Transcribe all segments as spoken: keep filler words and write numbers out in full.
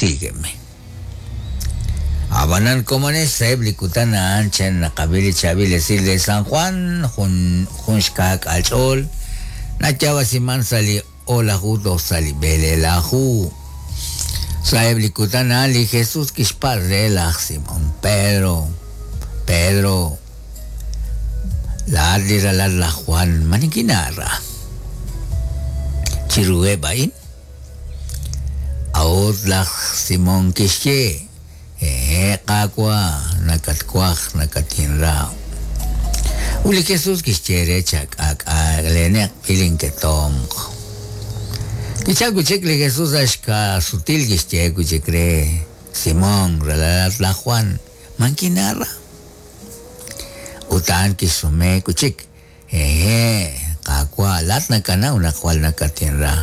Sígueme. Ab'anan komonex sa'eb' li kutan a'an chan naqab'i li chaab'il esil re San Juan, jun jun xka'k'aal ch'ool, nayaab'asiman sa' li o'laju toj sa' li b'eleelaju. Sa'eb' li kutan a'an li Jesús kixpatz' re laj Simón Pedro, Pedro, laa'at li ralal laj Juan, ma nikinaara? Chiruheb' a'in? A'ut laj Simón kixye, hehe' Qaawa', nakatwaj, nakatinra. Ut li Jesús kixye re chak'aak'aleneq ilinketomq. Kichalk wi' chik li Jesús sa' xka'sutil kixye wi' chik re Simón, ralalat laj Juan, man kinaara? Ut a'an kixsume wi' chik, hehe' Qaawa', laa'at nakanaw naq jwal nakatinra.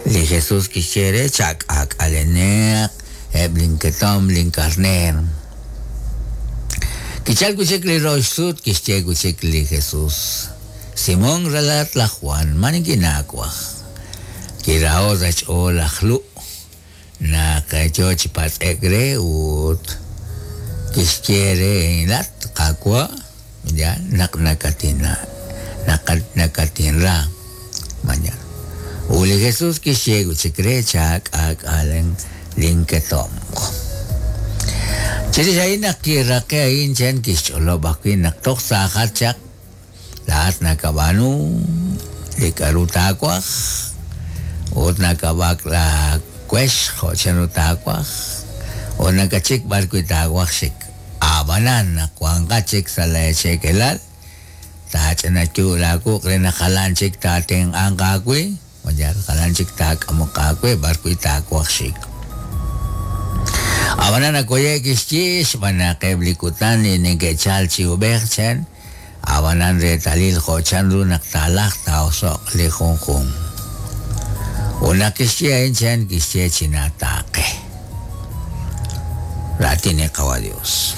Li Jesús kixye re chak'aak'aleneq eb' linketom linkarneer. Kichalk wi' chik li rox sut kixye wi' chik li Jesús, Simón ralalat laj Juan, ma nikinaawaj? Kiraho' sa' xch'ool laj Lu' naq yo chi patz'ek re ut kixye re laat Qaawa', ya naq nakatina nakatinra. Mañana. Ut li Jesús kixye wi' chik re chak'aak'alen linketomq. Chirix a'in naq kiraqe a'in chan kixch'olob' ajwi' naq toj saajat chaq laa'at nakab'aanu li k'a'ru taawaj ut nakab'ak laawex jo' chanru taawaj ut nakachik b'ar wi' taawaj xik. Ab'anan naq wanqat chik sa' laacheekelal taach'inayu' laawuq' re naq jalan chik taatenq'anq aawe mañana jalan chik taak'amoq aawe b'ar wi' taawaj xik. Ab'anan nakoye' kixye xb'aan naq eb' li kutan li neke'chal chi ub'ej chan ab'anan reetalil jo' chanru naq taalaj taa'oso'q li junjunq. Ut naq kixye a'in chan kixye chinaataaqe. Raatin li Qawa' Dios.